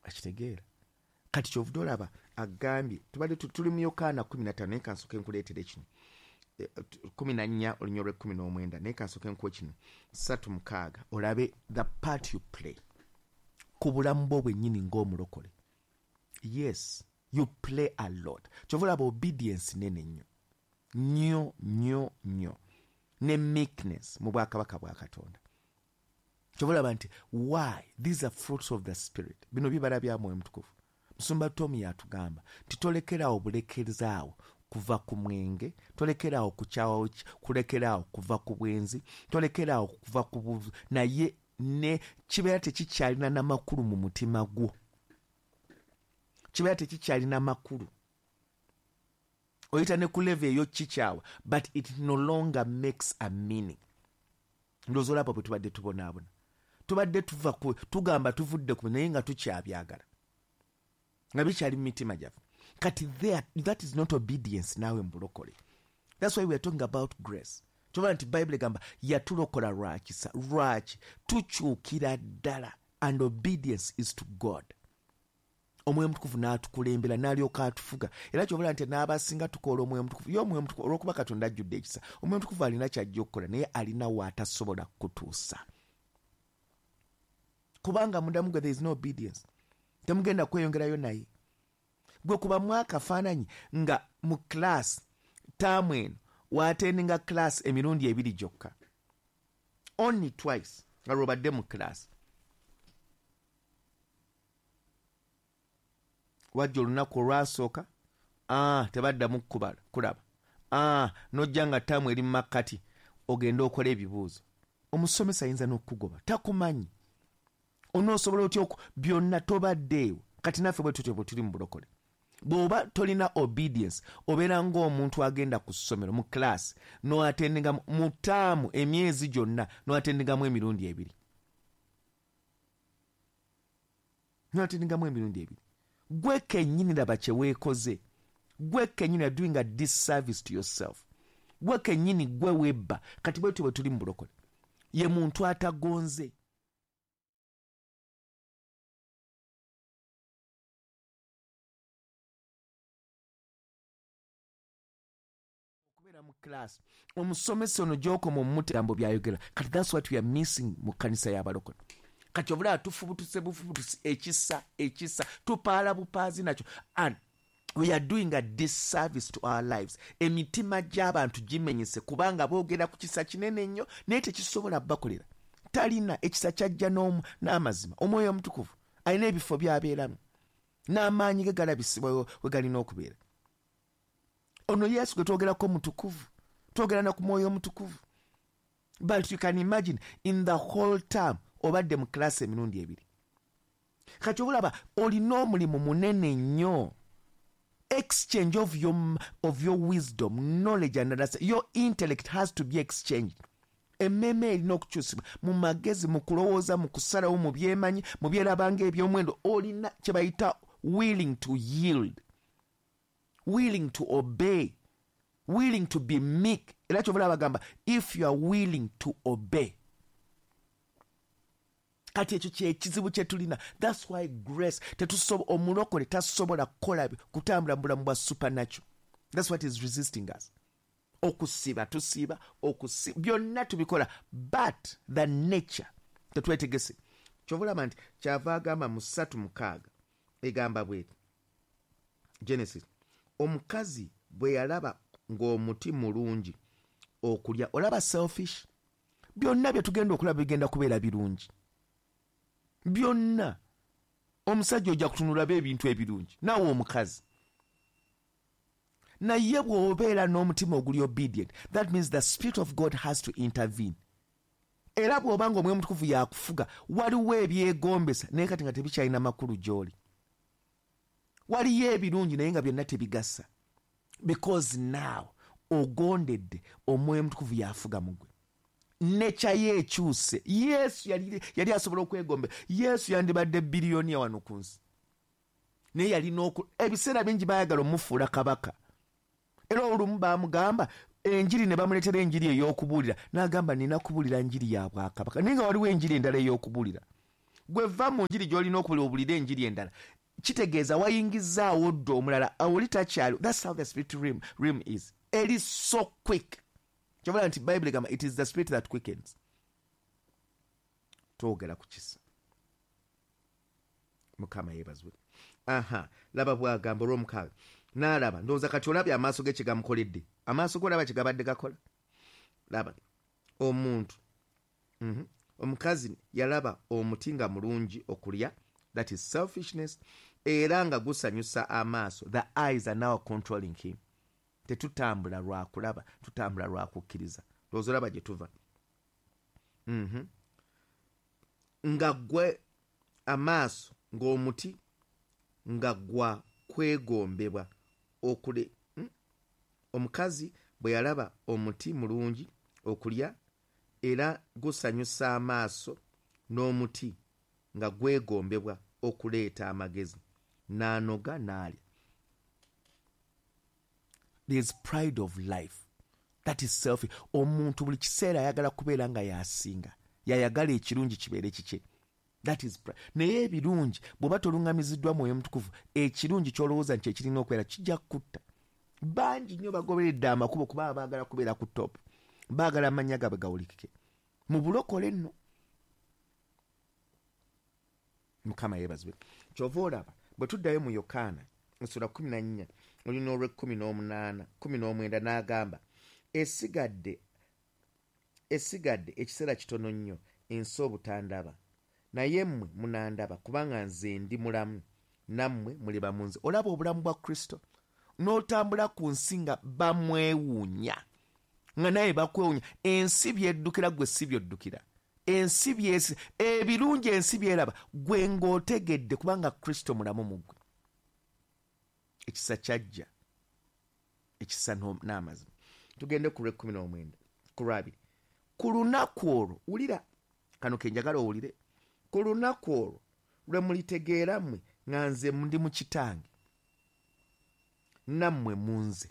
Akitegeera. Kati kyovudde olaba agambye tubadde tuli mu Yokaana 15, naye kansooke nkuleetere kino. 14 olunyiriri lw'ekkumi n'omwenda, naye kansooke nkuwe kino 3:6, olabe the part you play ku bulamu bwo bwennyini ng'omulokole. Yes, you play a lot. Kyova olaba obedience nene nnyo nnyo nnyo nnyo, ne meekness mu bwakabaka bwa Katonda. Kyova olaba nti why these are fruits of the spirit, bino bibala bya Mwoyo Mutukuvu. Musumba Tom yatugamba nti tolekeraawo bulekezaawo kuva ku mwenge, tolekeraawo kukyawa, kulekeraawo kuva ku bwenzi, tolekeraawo kuva ku buvu, naye ne kibeera tekikyalina namakulu mu mutima gwo, kibeera tekikyalina makulu. Oyita ne ku level eyo kikyawa, but it no longer makes a meaning. Ndowooza olaba bwe tubadde tubonaabona, tubadde tuva ku, tugamba tuvudde ku, naye nga tukyabyagala, nga bikyali mu mitima gyaffe. Kati there, that is not obedience naawe mu bulokole. That's why we are talking about grace. Tuba nti Bible egamba yatulokola lwa kisa. Lwaki? Tukyukira ddala, and obedience is to God. Omwoyo Omutukuvu n'atukulembera, n'alyoka atufuga. Era ky'obola nti n'abasinga tukoola Omwoyo Omutukuvu. Ye Omwoyo Omutukuvu, olw'okuba Katonda ajjudde ekisa, Omwoyo Omutukuvu alina ky'ajja okukola, naye alina w'atasobola kutuusa. Kubanga munda mu gwe there is no obedience. Temugenda kweyongerayo naye. Gwe kubamu akafaananyi nga mu class taamu eno w'atendinga class emirundi ebiri gyokka, only twice, nga lw'obadde mu class. Wajja olunaku olwasooka, tebaddamu kulaba, n'ojja nga ttaamu eri mu makkati, ogende okole ebibuuzo. Omusomesa ayinza n'okukugoba, takumanyi. Onoosobola otya byonna tobaddeewo. Kati naffe bwe tutyo bwe tuli mu bulokole. Bw'oba tolina obedience, obeera ng'omuntu agenda ku ssomero mu class, n'oatendinga mu ttaamu emyezi gyonna, n'oatendingamu emirundi ebiri. N'oatendingamu emirundi ebiri. Gwe kennyini laba kye weekoze. Gwe kennyini are doing a disservice to yourself. Gwe kennyini gwe webba. Kati bwe tutyo bwe tuli mu bulokole. Ye muntu atagonze. Okubeera mu class, omusomesa ono gy'okoma omumugambo by'ayogera. Kati that's what we are missing mu kkanisa y'abalokole. Kati obulala tufubutuse bufubutusi, ekisa, ekisa, tupaala bupaazi nakyo. And we are doing a disservice to our lives. Emitima gy'abantu gimenyese kubanga boogera ku kisa kinene nnyo, naye tekisobola bakolera. Talina ekisa kyajja n'amazima. Omwoyo Omutukuvu alina ebifo by'abeeramu, n'amaanyi ge galabisibwa we galina okubeera. Ono Yesu gwe twogerako mutukuvu, twogera na ku Mwoyo Omutukuvu. But you can imagine in the whole term obadde mu class emirundi ebiri. Kati obulaba olina omulimu munene nnyo. Exchange of your wisdom, knowledge and understanding. Your intellect has to be exchanged. Emmeeme erina okukyusibwa mu magezi, mu kulowooza, mu kusalawo, mu byemanyi, mu byerabanga eby'omuwendo. Olina kye bayita willing to yield, willing to obey, willing to be meek. Era kyova olaba bagamba if you are willing to obey. Kati ekyo kye kizibu kye tulina. That's why grace omulokole tasobola kukola kutambula mu bulamu bwa supernatural. That's what is resisting us. Okusiba tusiba, byonna tubikola, but the nature tetwetegese. Kyova olaba nti kyava agamba mu 3:6 egamba bw'eti, Genesis, omukazi bwe yalaba ng'omuti mulungi okulya. Olaba selfish, byonna bye tugenda okulaba bigenda kubeera birungi byonna. Omusajja ojja kutunula ebintu ebirungi, naawe omukazi. Naye bw'obeera n'omutima oguli obedient, that means the Spirit of God has to intervene. Era bw'oba ng'Omwoyo Omutukuvu yakufuga, waliwo ebyegombesa naye kati nga tebikyalina makulu gy'oli. Waliyo ebirungi naye nga byonna tebigasa, because now ogondedde Omwoyo Omutukuvu yafuga mu gwe. Nature ye ekyuse. Yesu yali asobola okwegomba. Yesu yandibadde biliyoniya wano ku nsi, naye yalina ebiseera bingi baayagala omufuula kabaka. Era olumu baamugamba enjiri ne bamuleetera enjiri ey'okubuulira, n'agamba nina kubuulira njiri ya bwakabaka, naye nga waliwo enjiri endala ey'okubuulira. Gwe va mu njiri gy'olina okubulira, obulire enjiri endala. Kitegeeza wayingizaawo dda omulala, oli takyali. That's how the spirit realm is. It is so quick. Kyova nti Bible egamba it is the spirit that quickens. Twogera ku kisa. Mukama yeebazibwe. Aha, laba bw'agamba olw'omukaaga. N'alaba, ndowooza kati olabye amaaso ge kye gamukoledde. Amaaso ge olaba kye gabadde gakola. Laba, omuntu. Omukazi yalaba omuti nga mulungi okulya, that is selfishness, era nga gusanyusa amaaso. The eyes are now controlling him. Tetutambula lwa kulaba, tutambula lwa kukkiriza. Ndowooza olaba gye tuva. Nga gwe amaaso ng'omuti nga gwa kwegombebwa okule. Omukazi bwe yalaba omuti mulungi okulya era gusanyusa amaaso n'omuti nga gwegombebwa okuleeta amagezi, n'anoga n'alya. There is pride of life. That is selfish. Omuntu buli kiseera ayagala kubeera nga yasinga, yayagala ekirungi kibeere kikye. That is pride. Naye ebirungi bw'oba toluŋŋamiziddwa Mwoyo Mutukuvu, ekirungi ky'olowooza nti ekirina okubeera kijja kukutta. Bangi nnyo bagoberedde amakubo kuba baagala kubeera ku top, baagala amannya gaabwe gawulikike mu bulokole nno. Mukama yeebazibwe. Kyova olaba bwe tuddayo mu Yokaana essula 14 olina olw'ekkumi n'omunaana 19 n'agamba esigadde ekiseera kitono nnyo ensi obutandaba, naye mmwe munandaba, kubanga nze ndi mulamu nammwe muliba mu nze. Olaba obulamu bwa Kristo n'otambula ku nsi nga bamwewuunya, nga naye bakwewuunya. Ensi byeddukira gwe si byoddukira, ensi byesi ebirungi ensi byeraba gwe ng'otegedde, kubanga Kristo mulamu mu ggwe. Ekisa kyajja, ekisa n'amazima. Tugende ku lw'ekkumi n'omwenda ku lwabiri. Ku lunaku olwo, wulira kano ke njagala owulire. Ku lunaku olwo lwe mulitegeera mmwe nga nze ndi mu Kitange, nammwe mu nze,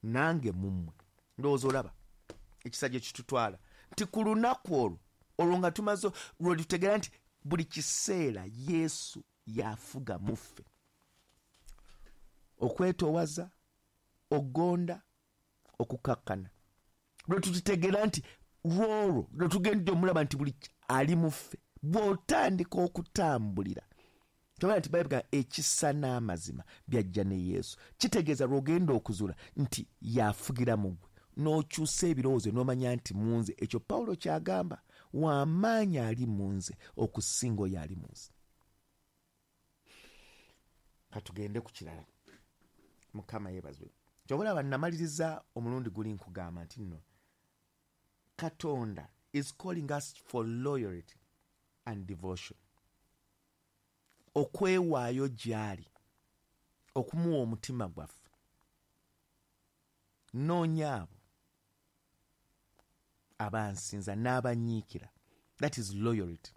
nange mu mmwe. Ndowooza olaba ekisa gye kitutwala nti ku lunaku olwo, olwo nga tumaze lwe tutegeera nti buli kiseera Yesu yafuga mu ffe. Okwetoowaza, okugonda, okukakkana. Lwe tukitegeera nti lwolwo lwe tugenda omulaba nti buli ali mu ffe. Bw'otandika okutambulira, kyobala nti Bayibuli ekisa n'amazima byajja ne Yesu. Kitegeeza lw'ogenda okuzuula nti yafugira mu ggwe, n'okyusa ebirowoozo n'omanya nti mu nze. Ekyo Pawulo ky'agamba, w'amaanyi ali mu nze okusinga oyo ali mu nsi. Katugende ku kirala. Mukama yeebazibwe. Ky'obalaba namaliriza omulundi guli nkugamba nti nno Katonda is calling us for loyalty and devotion. Okwewaayo gy'ali, okumuwa omutima gwaffe. Noonya abo abansinza n'abanyiikira. That is loyalty.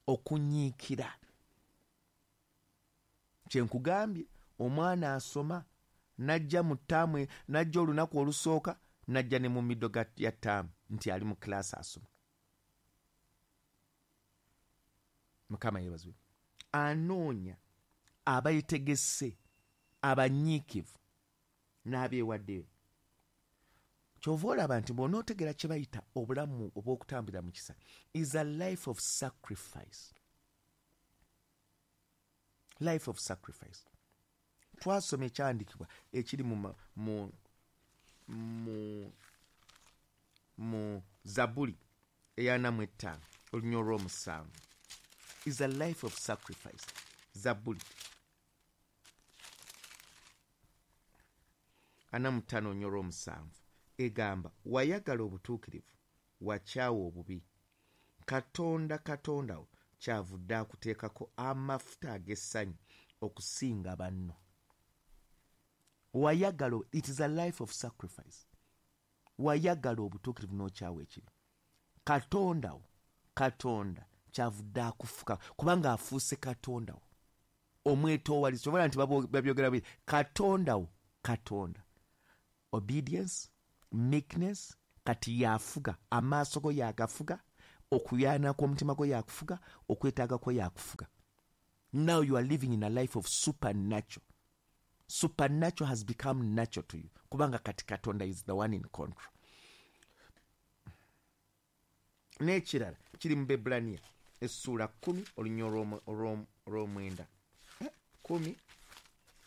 Okunyiikira. Kye nkugambye, omwana asoma n'ajja mu ttaamu, n'ajja olunaku olusooka, n'ajja ne mu middle ya ttaamu nti ali mu class asoma. Mukama yeebazibwe. Anoonya abayetegese, abanyiikivu n'abeewaddeyo. Ky'ova olaba nti bw'onootegeera kye bayita obulamu obw'okutambulira mu kisa is a life of sacrifice. Life of sacrifice. Twasoma ekyawandiikibwa ekiri mu Zabbuli ey'ana mu ttaano olunya olw'omusanvu. Is a life of sacrifice. Zabbuli 45 olunya olw'omusanvu egamba, wayagala obutuukirivu, wakyawa obubi. Katonda Katonda wo kyavudde akuteekako amafuta ag'essanyu okusinga banno. Wayagala, it is a life of sacrifice. Wayagala obutuukirivu n'okyawa ekibi. Katonda wo, Katonda kyavudde akufuka, kubanga afuuse Katonda wo. Omwetoowaliza, oba nti babyogera bwe, Katonda wo, Katonda. Obedience, meekness, kati yafuga, amaaso go yagafuga, Okuyaana kw'omutima gwo yakufuga, okwetaaga kwo yakufuga. Now you are living in a life of supernatural. Supernatural has become natural to you, kubanga kati Katonda is the one in control. N'ekirala kiri mu Bebbulaniya essuula 10 olunya olw'omwenda. 10,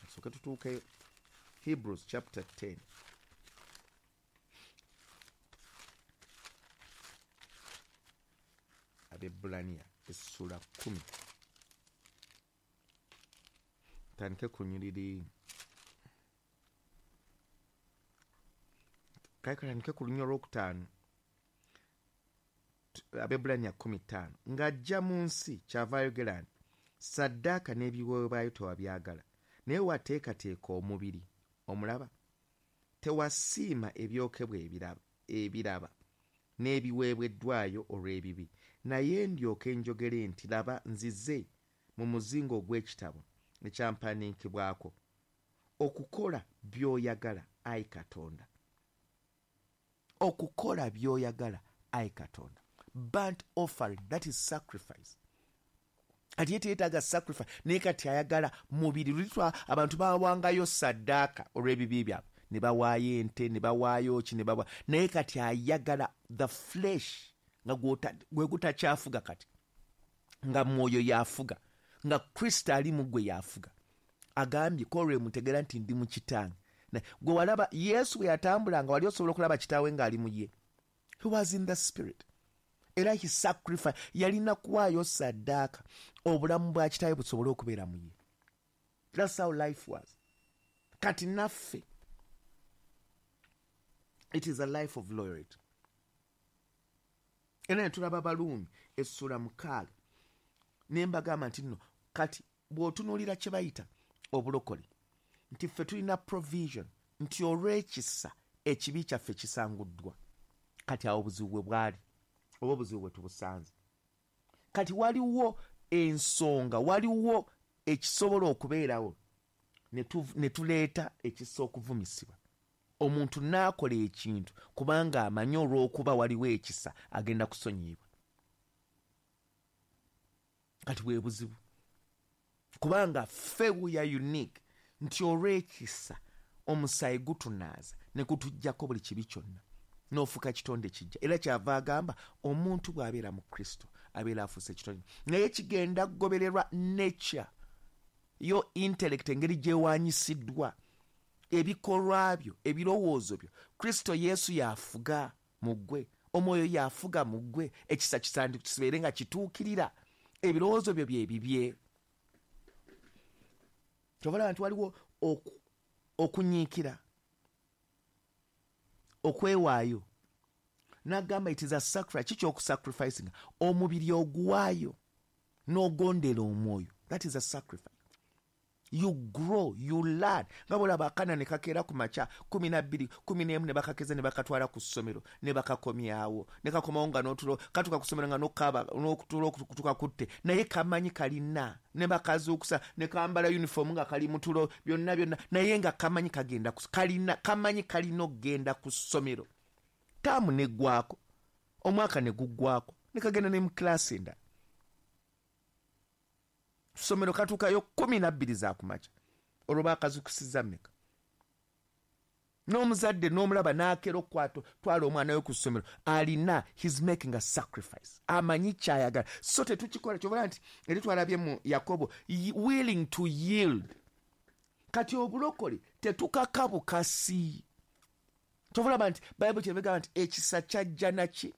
tusooke tutuukeyo. Hebrews chapter 10. Abebbulaniya essuula 10, tandike ku nyiriri, kale katandike ku lunya olwokutaano. Abebbulaniya 15. Ng'ajja mu nsi kyava ayogera nti, saddaaka n'ebiweebwayo tewabyagala, naye wateekateeka omubiri. Omulaba, tewasiima ebyokebwa ebiraba n'ebiweebweddwayo olw'ebibi. Naye ndyoke njogere nti, laba nzize mu muzingo ogw'ekitabo ekyampandiikibwako, okukola by'oyagala, ayi Katonda. Okukola by'oyagala, ayi Katonda. Burnt offering, that is sacrifice. Kati ye teyeetaaga sacrifice, naye kati ayagala mubiri. Luli abantu bawangayo saddaaka olw'ebibi byabwe, ne bawaayo ente, ne bawaayo ki, ne bawa, naye kati ayagala the flesh, nga gwe gutakyafuga kati, nga mwoyo yafuga, nga Kristo ali mu gwe yafuga. Agambye ko lwe mutegeera nti ndi mu kitange. Gwe walaba Yesu bwe yatambulanga, wali osobola okulaba kitaawe ng'ali mu ye. He was in the spirit. Era he sacrifice, yalina kuwaayo saddaaka obulamu bwa kitaawe busobole okubeera mu ye. That's how life was. Kati naffe it is a life of loyalty. Era ne tulaba Baluumi essuula 6, ne mbagamba nti nno kati bw'otunuulira kye bayita obulokole, nti ffe tulina provision nti olw'ekisa ekibi kyaffe kisanguddwa. Kati awo obuzibu bwe bwali, oba obuzibu bwe tubusanze. Kati waliwo ensonga, waliwo ekisobola okubeerawo ne tuleeta ekisa okuvumisibwa. Omuntu n'akola ekintu kubanga amanyi olw'okuba waliwo ekisa agenda kusonyiyibwa. Kati bwe buzibu, kubanga ffe we are unique nti olw'ekisa omusaayi gutunaaza ne gutuggyako buli kibi kyonna, n'ofuuka kitonde kijja. Era kyava agamba omuntu bw'abeera mu Kristo abeera afuuse kitonde, naye kigenda kugobererwa nature yo, intellect, engeri gy'ewaanyisiddwa, ebikolwa byo, ebirowoozo byo. Kristo Yesu yafuga mu ggwe, omwoyo yafuga mu ggwe, ekisa kibeere nga kituukirira, ebirowoozo byo bye bibye. Kyova nti waliwo okunyiikira, okwewaayo. N'agamba it is a sacrifice. Kiki okusacrificing? Omubiri oguwaayo n'ogondera omwoyo. That is a sacrifice. You grow, you learn. Nga bw'olaba akaana ne kakeera ku makya 12, 11, ne bakakeza ne bakatwala ku ssomero ne bakakomyawo, ne kakomawo nga n'otulo, katuuka ku ssomero nga n'okukaaba n'okutulo kutuka kutte, naye kamanyi kalina, ne bakazuukusa ne kambala uniform nga kali mu tulo, byonna byonna, naye nga kamanyi kagenda ku, kalina, kamanyi kalina okugenda ku ssomero. Taamu neggwako, omwaka ne guggwako, ne kagenda ne mu kilaasi endala. Ssomero katuukayo 12 za kumakya, olwo baakazuukusizza mmeka? N'omuzadde n'omulaba n'akeera okukwata twala omwana we ku ssomero, alina, he's making a sacrifice, amanyi ky'ayagala. So tetukikola. Kyova nti eri twalabye mu Yakobo, willing to yield. Kati obulokole tetukaka bukasi. Kyova olaba nti Bayibuli kyebegamba nti ekisa kyajja naki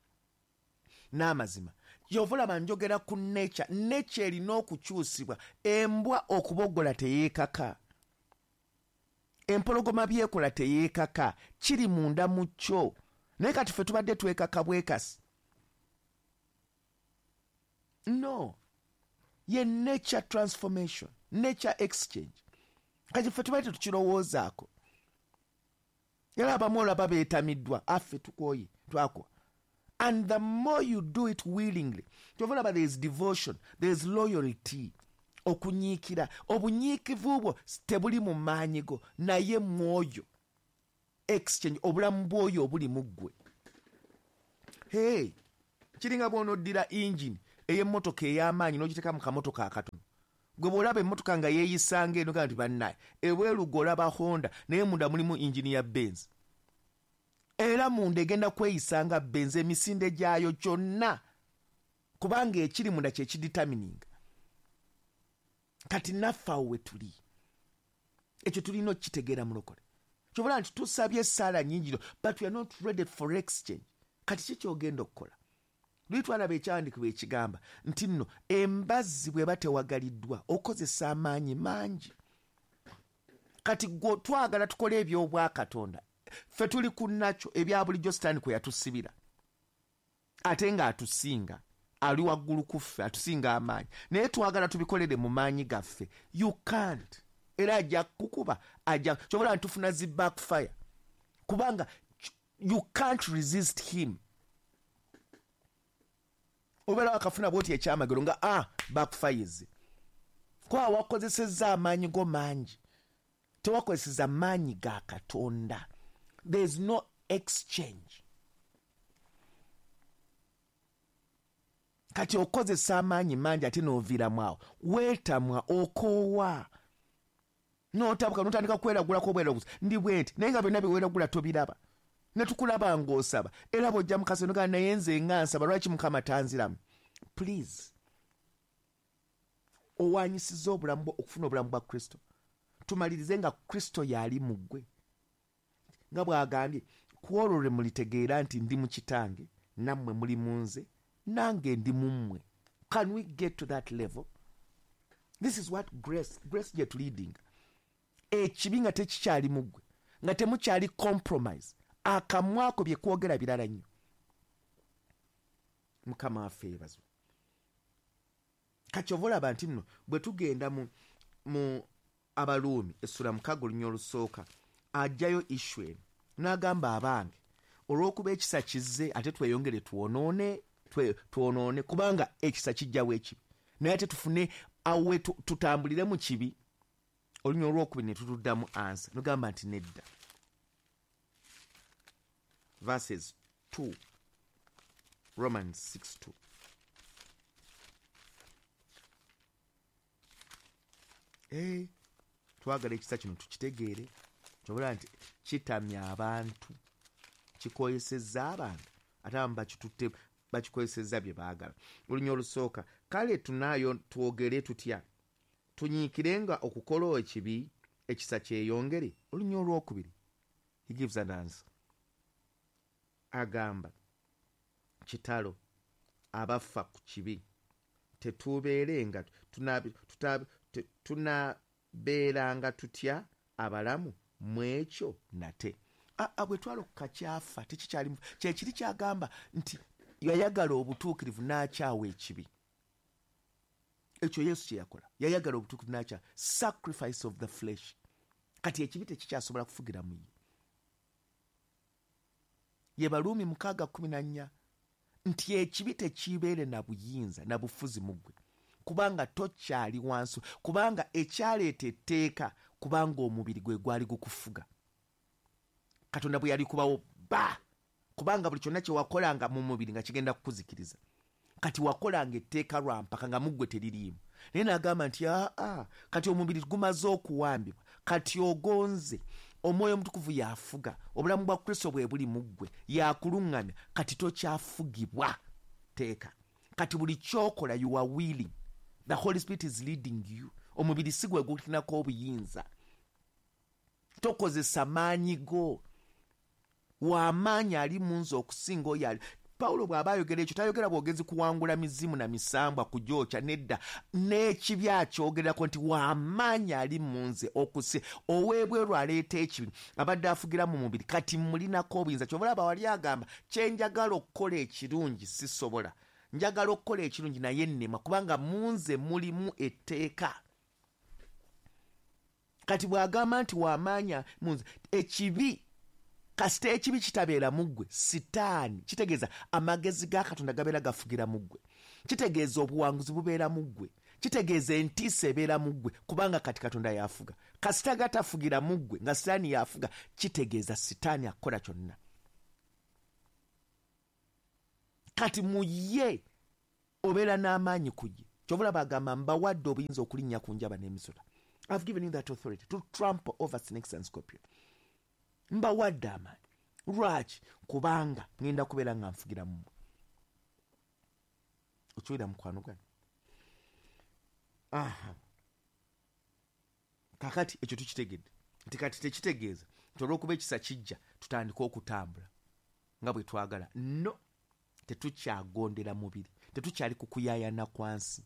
n'amazima. Kyova olaba njogera ku nature. Nature erina okukyusibwa. Embwa okubogola teyeekaka, empologoma byekola teyeekaka, kiri munda mu kyo. Naye kati ffe tubadde twekaka bwekasi. No, ye nature transformation, nature exchange. Kati ffe tubadde tetukirowoozaako. Era abamu olaba beetamiddwa, affe tukooye, twakowa. And the more you do it willingly, kyova olaba there is devotion, there is loyalty, okunyiikira. Obunyiikivu bwo tebuli mu maanyi go, naye mwoyo exchange, obulamu bw'oyo obuli mu ggwe. Hey, Kiringa bw'onoddira engine ey'emmotoka ey'amaanyi n'ogiteeka mu kamotoka akatono. Gwe bw'olaba emmotoka nga yeeyisanga eno gamba nti bannaye, ebweru gw'olaba Honda naye munda mulimu engine ya Benz. Era munda egenda kweyisanga Benz emisinde gyayo gyonna, kubanga ekiri munda kye kidetermininga. Kati naffe awo we tuli, ekyo tulina okukitegeera mulokole. Ky'obola nti tusabye essaala nnyingi nnyo, but we are not ready for exchange. Kati ki ky'ogenda okukola? Luli twalaba ekyawandiikibwa ekigamba nti nno embazzi bw'eba tewagaliddwa okozesa amaanyi mangi. Kati gwe twagala tukole eby'obwakatonda, ffe tuli ku nakyo ebya bulijjo Sitaani kwe yatusibira, ate ng'atusinga, ali waggulu ku ffe, atusinga amaanyi, naye twagala tubikolere mu maanyi gaffe. You can't. Era ajja kukuba, ajja ky'obola nti tufuna zi backfire, kubanga you can't resist him. Obeera wakafuna bw'oti ekyamagero nga backfires, kuba wakozesezza amaanyi go mangi, tewakozesezza maanyi ga Katonda. There is no exchange. Kati okozesa amaanyi mangi ate n'oviiramu awo, weetamwa, okoowa, n'otabuka, n'otandika kweragulako obweraguzi, ndi bwe nti, naye nga byonna bye weeragula tobiraba. Ne tukulaba ng'osaba, era bw'ojja mu kasono gamba naye nze nga nsaba, lwaki Mukama tanziramu? Please, owaanyisiza obulamu bwo okufuna obulamu bwa Kristo. Tumalirize nga Kristo y'ali mu ggwe. Nga bw'agambye, ku olwo lwe mulitegeera nti ndi mu kitange, nammwe muli mu nze, nange ndi mu mmwe. Can we get to that level? This is what grace gye tuleading. Ekibi nga tekikyali mu ggwe, nga temukyali compromise, akamwako bye kwogera birala nnyo. Mukama waffe yeebazibwe. Kati ova olaba nti nno bwe tugenda mu Abaruumi essula 6 olunya olusooka, ajjayo issue eno n'agamba abange, olw'okuba ekisa kizze ate tweyongere twonoone, kubanga ekisa kijjawo ekibi, naye ate tufune awe tutambulire mu kibi. Olunya olwokubiri ne tutuddamu ansa, nogamba nti nedda. Verses 2, Romans 6:2. Twagala ekisa kino tukitegeere, kyobula nti kitamya abantu, kikoyesezza abantu, ate abamu bakitutte bakikozesezza bye baagala. Olunya olusooka, kale tunaayo twogere tutya? Tunyiikirenga okukola ekibi, ekisa kyeyongere? Olunya olwokubiri, he gives an answer. Agamba, kitalo abafa ku kibi, tetubeerenga, tunabeeranga tutya abalamu mu ekyo nate? Bwe twalokoka kyafa, tekikyali mu-, kye kiri kyagamba nti yayagala obutuukirivu n'akyawa ekibi. Ekyo Yesu kye yakola, yayagala obutuukirivu n'akyawa, sacrifice of the flesh. Kati ekibi tekikyasobola kufugira mu ye. Ye Baruumi 6:14 nti ekibi tekibeere na buyinza na bufuzi mu ggwe, kubanga tokyali wansi, kubanga ekyaleeta etteeka, kubanga omubiri gwe gwali gukufuga. Katonda bwe yali kubawo ba, kubanga buli kyonna kye wakolanga mu mubiri nga kigenda kukuzikiriza. Kati wakolanga etteeka lwa mpaka nga mu ggwe teririimu. Naye n'agamba nti aa, kati omubiri gumaze okuwambibwa, kati ogonze, Omwoyo Omutukuvu y'afuga, obulamu bwa Kristo bwe buli mu ggwe, y'akuluŋŋamya, kati tokyafugibwa tteeka. Kati buli ky'okola you are willing, the Holy Spirit is leading you. Omubiri si gwe gulinako obuyinza, tokozesa maanyi go, w'amaanyi ali mu nze okusinga oyo ali. Pawulo bw'aba ayogera ekyo tayogera bwogezi kuwangula mizimu na misambwa kugyokya, nedda, n'ekibi akyogerako nti w'amaanyi ali mu nze okusi ow'ebweru aleeta ekibi abadde afugira mu mubiri, kati mulinako obuyinza. Ky'ova olaba wali agamba kye njagala okukola ekirungi sisobola, njagala okukola ekirungi naye nnema, kubanga mu nze mulimu etteeka. Kati bw'agamba nti w'amaanyi mu nze, ekibi kasita ekibi kitabeera mu ggwe, Sitaani, kitegeeza amagezi ga Katonda gabeera gafugira mu ggwe, kitegeeza obuwanguzi bubeera mu ggwe, kitegeeza entiisa ebeera mu ggwe, kubanga kati Katonda y'afuga. Kasita gatafugira mu ggwe nga Sitaani y'afuga, kitegeeza Sitaani akola kyonna. Kati mu ye obeera n'amaanyi ku ye. Kyova olaba agamba mbawadde obuyinza okulinnya ku njaba n'emisota. I've given you that authority to trample over snakes and scorpion. Mbawadde amaanyi. Lwaki? Kubanga ngenda kubeera nga nfugira mu mmwe. Okiwulira mukwano gwange? Aha. Kakati ekyo tukitegedde nti kati tekitegeeza nti olw'okuba ekisa kijja tutandike okutambula nga bwe twagala. No, tetukyagondera mubiri, tetukyali ku kuyaayana kwa nsi.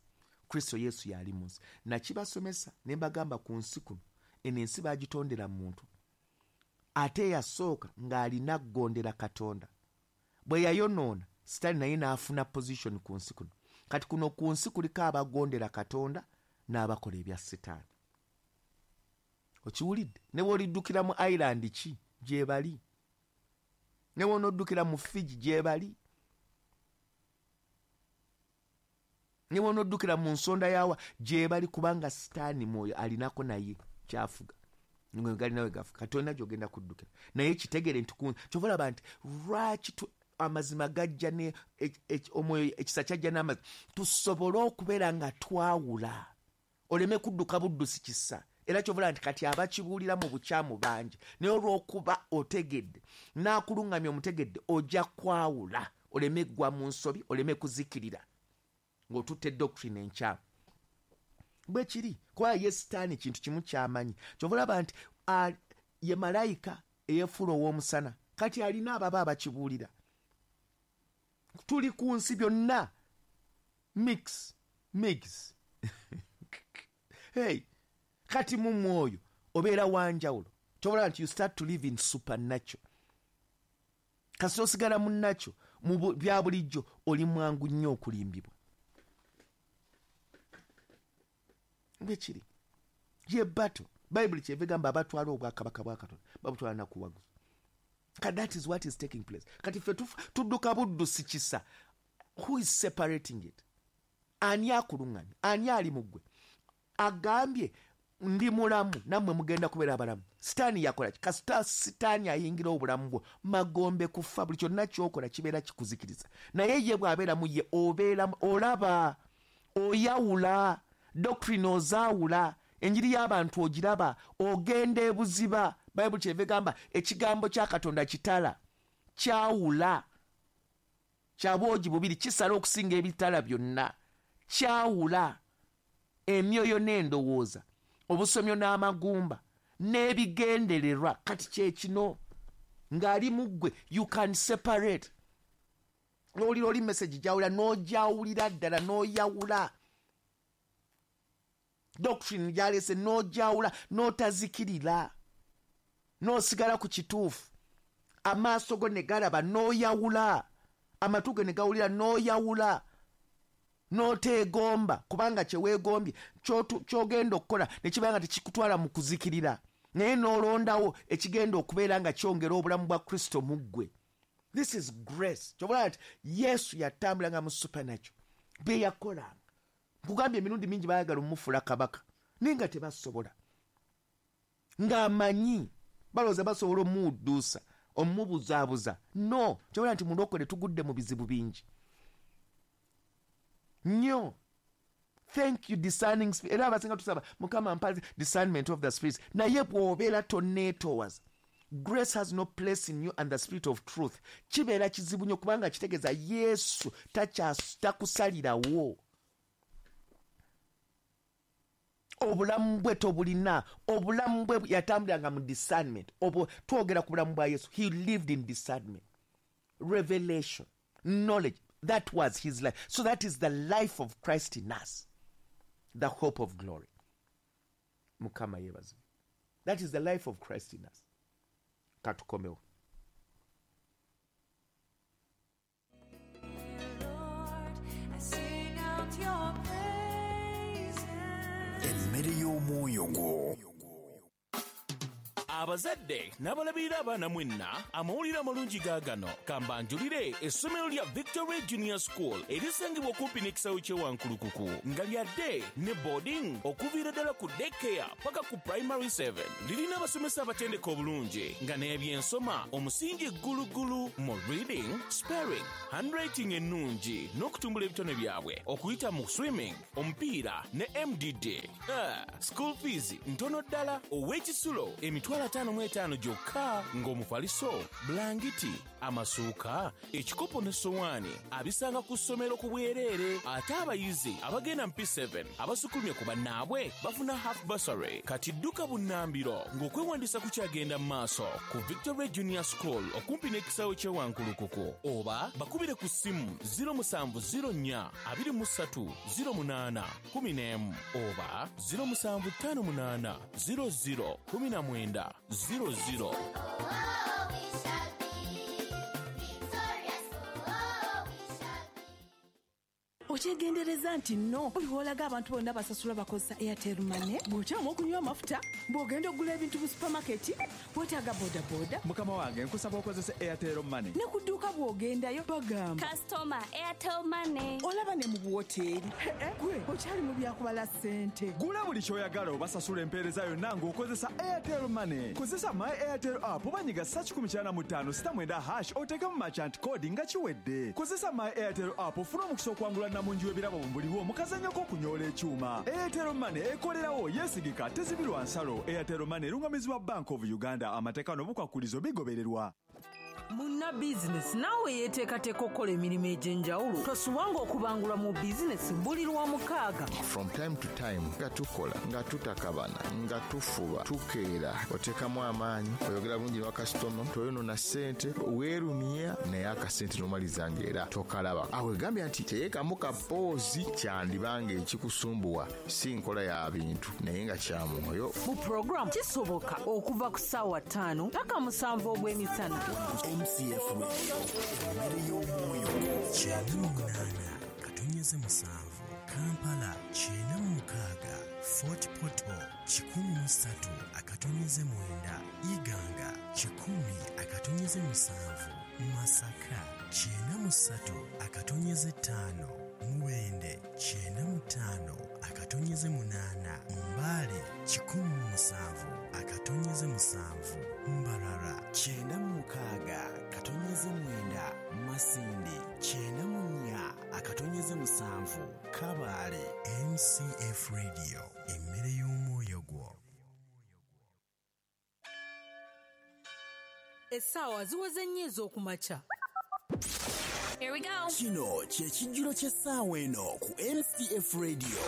Kristo Yesu y'ali mu nsi. Nakibasomesa ne mbagamba ku nsi kuno, eno ensi baagitondera muntu. Ate eyasooka ng'alina kugondera Katonda. Bwe yayonoona, Sitaani naye n'afuna position ku nsi kuno. Kati kuno ku nsi kuliko abagondera Katonda n'abakola ebya Sitaani. Okiwulidde? Ne bw'oliddukira mu island ki, gyebali. Ne bw'onoddukira mu Fiji, gyebali. Ne bw'onoddukira mu nsonda yawa, gyebali, kubanga Sitaani mwoyo alinako naye kyafuga. Nga galina we gafuga. Kati olina gy'ogenda kuddukira. Naye kitegere nti ku, kyova olaba nti lwaki amazima gajja ne, omwoyo, ekisa kyajja n'amazima, tusobole okubeera nga twawula. Oleme kudduka buddusi kisa. Era kyova olaba nti kati abakibuulira mu bukyamu bangi. Naye olw'okuba otegedde, n'akuluŋŋamya omutegedde, ojja kwawula. Oleme ggwa mu nsobi, oleme kuzikirira ng'otutte doctrine enkyamu. Bwe kiri, kuba ye Sitaani kintu kimu ky'amanyi. Kyova olaba nti ye malayika eyeefuula ow'omusana. Kati alina ababa abakibuulira. Tuli ku nsi byonna. Mix, mix. Hey, kati mu mwoyo obeera wa njawulo. Kyova olaba nti you start to live in supernatural. Kasita osigala mu nakyo, mu bya bulijjo oli mwangu nnyo okulimbibwa. Bwe kiri. Ye battle. Bayibuli kyeva egamba abatwala obwakabaka bwa Katonda babutwala na kuwaguza. Kati that is what is taking place. Kati ffe tudduka buddusi kisa. Who is separating it? Ani akuluŋŋamya? Ani ali mu ggwe? Agambye ndi mulamu, nammwe mugenda kubeera abalamu. Sitaani yakola ki? Kasita Sitaani ayingira obulamu bwo, magombe kufa, buli kyonna ky'okola kibeera kikuzikiriza. Naye ye bw'abeera mu ye, obeera, olaba, oyawula, doctrine ozaawula, enjiri y'abantu ogiraba, ogenda ebuziba. Bayibuli kyeva egamba ekigambo kya Katonda kitala, kyawula, kya bwogi bubiri, kisala okusinga ebitala byonna, kyawula emyoyo n'endowooza, obusomyo n'amagumba, n'ebigendererwa. Kati kye kino, ng'ali mu ggwe, you can separate. N'owulira oli message gy'awulira, n'ogyawulira ddala, n'oyawula. Doctrine gy'aleese, n'ogyawula, n'otazikirira, n'osigala ku kituufu. Amaaso go ne galaba, n'oyawula. Amatu go ne gawulira, n'oyawula. N'oteegomba, kubanga kye weegombye, ky'ogenda okukola ne kibeera nga tekikutwala mu kuzikirira. Naye n'olondawo ekigenda okubeera nga kyongera obulamu bwa Kristo mu ggwe. This is grace. Ky'oba olaba nti Yesu yatambulanga mu supernatural. Bye yakolanga. Nkugambye emirundi mingi baayagala omumufuula kabaka, naye nga tebasobola. Ng'amanyi, balowooza basobola omuwudduusa, omubuzaabuza. No, ky'oba olaba nti mulokole tugudde mu bizibu bingi nnyo. Thank you, discerning spirit. Era abasinga tusaba Mukama mpa discernment of the spirits. Naye bw'obeera tonneetoowaza, grace has no place in you and the spirit of truth. Kibeera kizibu nnyo kubanga kitegeeza Yesu takusalirawo. Obulamu bwe tobulina. Obulamu bwe yatambulanga mu discernment. Obwo twogera ku bulamu bwa Yesu. He lived in discernment, revelation, knowledge. That was his life. So that is the life of Christ in us, the hope of glory. Mukama yeebazibwe. That is the life of Christ in us. Katukomewo. Lord, I sing out your praises. Emmere y'omwoyo gwo. Abazadde n'abalabirira abaana mwenna, amawulire amalungi gaagano. Kambanjulire essomero lya Victory Junior School erisangibwa okumpi n'ekisaawe ky'e Wankulukuku, nga lya day ne boarding okuviira ddala ku daycare paka ku primary 7. Lirina abasomesa abatendeka obulungi nga n'ebyensoma omusingi ggulugulu mu reading, spelling, handwriting ennungi n'okutumbula ebitone byabwe okuyita mu swimming, omupiira ne MDD. School fees ntono ddala, ow'ekisulo emitwalo 55 gyokka, ng'omufaliso, bulangiti, amasuuka, ekikopo ne sowaani abisanga ku ssomero ku bwereere. Ate abayizi abagenda mu P7 abasukulumye ku bannaabwe bafuna half bursary. Kati dduka bunnambiro ng'okwewandiisa kukyagenda mu maaso ku Victory Junior School okumpi n'ekisaawe ky'e Wankulukuku, oba bakubire ku ssimu 0704 23 08 11 oba 0758 00 19 00. Oh, we shall be victorious. Oh, we shall be. Okyegendereza nti nno buli lw'olaga abantu bonna basasula bakozesa Airtel Money, bw'okyama okunywa amafuta, bw'ogenda okugula ebintu mu supamaketi, weetaaga bodaboda. Mukama wange, nkusaba okozese Airtel Money. Ne ku dduuka bw'ogendayo bagamba Customer, Airtel Money. Olaba ne mu buwoteeri. Gwe okyali mu byakubala ssente. Gula buli ky'oyagala obasasula empeereza yonna ng'okozesa Airtel Money. Kozesa My Airtel app oba nyiga star 195 star 9 hash oteekemu merchant code nga kiwedde. Kozesa My Airtel app ofune omukisa okuwangula namungi w'ebirabo buliwo mu kazannyo k'okunyoola ekyuma. Airtel Money ekolerawo, yeesigika, tezibirwa nsalo. Airtel Money erungamizibwa Bank of Uganda. Amateeka n'obukwakkulizo bigobererwa. Munna bizinesi naawe yeeteekateeka okukola emirimu egy'enjawulo, tosubwanga okubangulwa mu bizinesi buli lwa mukaaga. From time to time nga tukola, nga tutakabana, nga tufuba, tukeera, oteekamu amaanyi, oyogera bulungi ne bakasitoma, toyonona ssente, weerumya naye akasente n'omaliza ng'era tokalaba. Awo egambye nti teekamu kapoozi, kyandibanga ekikusumbuwa si nkola ya bintu naye nga kya mwoyo. Mu puroguramu Kisoboka okuva ku ssaawa 5 paka 7 ogw'emisana. MCF Radio, emmere y'omwoyo. 98.7 Kampala, 96 Fort Portal, 103.9 Iganga, 100.7 Masaka, 93.5 Mubende, 95.8 Mbale, 107.7 Mbarara, 96.9 Masindi, 94.7 Kabale. MCF Radio, emmere y'omwoyo gwo. Essaawa ziweze nnyo ez'okumakya. Here we go. Kino kye kijjulo ky'essaawa eno ku MCF Radio.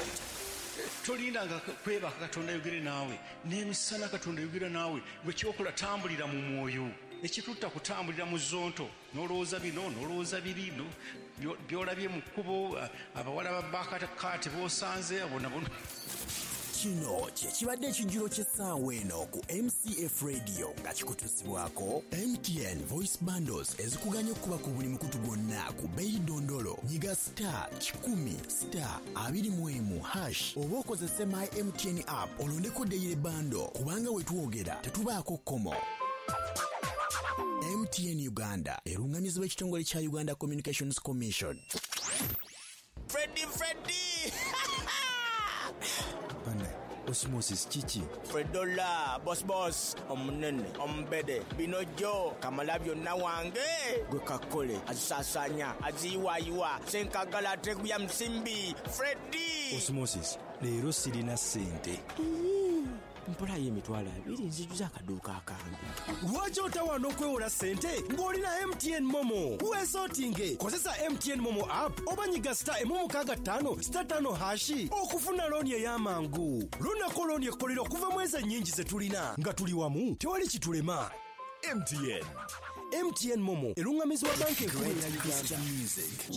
Tolindanga kwebaka Katonda ayogere naawe, n'emisana Katonda ayogera naawe. Gwe kyokola tambulira mu mwoyo. Ekitutta kutambulira mu zonto, n'olowooza bino, n'olowooza biri, by'olabye mu kkubo, abawala ba bakakaati b'osanze, abo nabo. Kino kye kibadde ekijjulo ky'essaawa eno ku MCF Radio nga kikutuusibwako MTN Voice Bundles ezikuganya okukuba ku buli mukutu gwonna ku bbeeyi dondolo. Nyiga star 100 star 21 hash oba okozese My MTN app olondeko daily bundle, kubanga we twogera tetubaako kkomo. MTN Uganda erungamizibwa ekitongole kya Uganda Communications Commission. Freddy, Freddy! Bane, Osmosis kiki? Fredola, boss boss, omunene, omubede, binojo, kamala byonna wange. Gwe kakole, azisasanya, aziyiwayiwa, senkagala ateguya musimbi, Freddy! Osmosis, leero sirina ssente. Mpolayo 20,000 nzijuza akaduuka akange. Lwaki otawaana okwewola ssente ng'olina MTN Momo? Weesootinge, kozesa MTN Momo app oba nyiga star 165 star 5 hashi okufuna looni ey'amangu. Lunako looni ekkolera okuva mu ezo ennyingi ze tulina. Nga tuli wamu, tewali kitulema. MTN. MTN Momo erungamizibwa banka enkulu eya Uganda. Christian music.